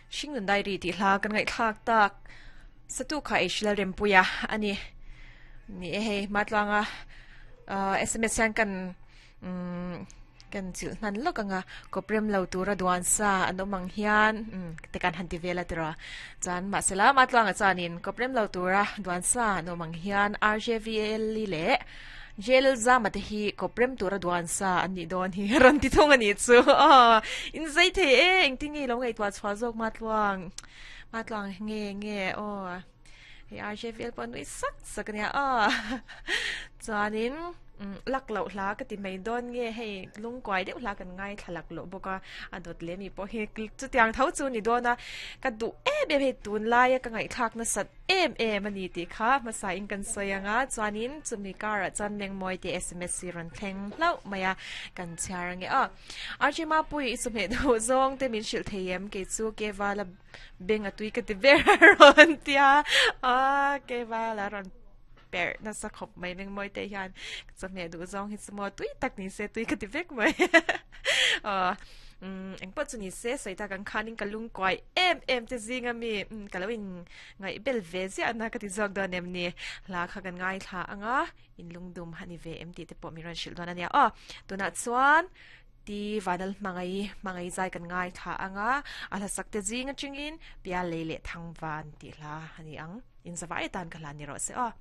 Hringnun Diary tih hla kan ngaihthlak tak satu kha Eishila Rempuia a ni. Ni e hei Matluanga sms hian kan umm kan chilh hnan lawk ang a, kawprem lo tura duan sa an awm ang hian umm te kan han ti vel a tiraw. Chuan mahsela Matluanga chuanin kawprem lo tura duan sa an awm ang hian RJVL leh Jail zama te hi kawp rem tura duan sa an nih dawn hi rawn ti thung a nih chu aw in zai thei e engtin nge i lo ngaihtuah chhuah zawk Matluang Matluang nge nge aw hei RJVL pawh a nui sak sak a nia aw chuanin lak loh hla ka ti mai dawn nge hei lungkuai deuh hla kan ngaithla lak loh bawk a a dawt leh mi pawh hi chutiang tho chu a ni dawn a ka duh em em hei tunlaia ka ngaihthlak nasat em em a ni tih kha hmasa in kan sawi ang a, chuanin chumi karah chuan Mengmawi te sms hi rawn thleng hlauh mai a, kan chhiar ange aw. RJ Mapui i chawhmeh duh zawng te min hrilh thei em kei chu Kevala beng a tui ka ti ber a rawn tia a Kevala rawn perh nasa khawp mai Mengmawi te hian chawhmeh duh zawng hi chu maw tui tak ni se tui ka ti vek mai aw. Umm engpawh chu ni se sawi tak ang khanin ka lungkuai em em te zinga mi umm ka lo in ngaih bel ve ziah na ka ti zawk dawn em ni hla kha kan ngaithla anga in lungdum a ni ve em tih te pawh min rawn hrilh dawn a nia aw tunah chuan ti vanal hmangai hmangai zai kan ngaithla anga a hla sak te zing atangin pial lei leh thangvan tih hla a ni ang in zavai atan ka hlan ni rawh se aw.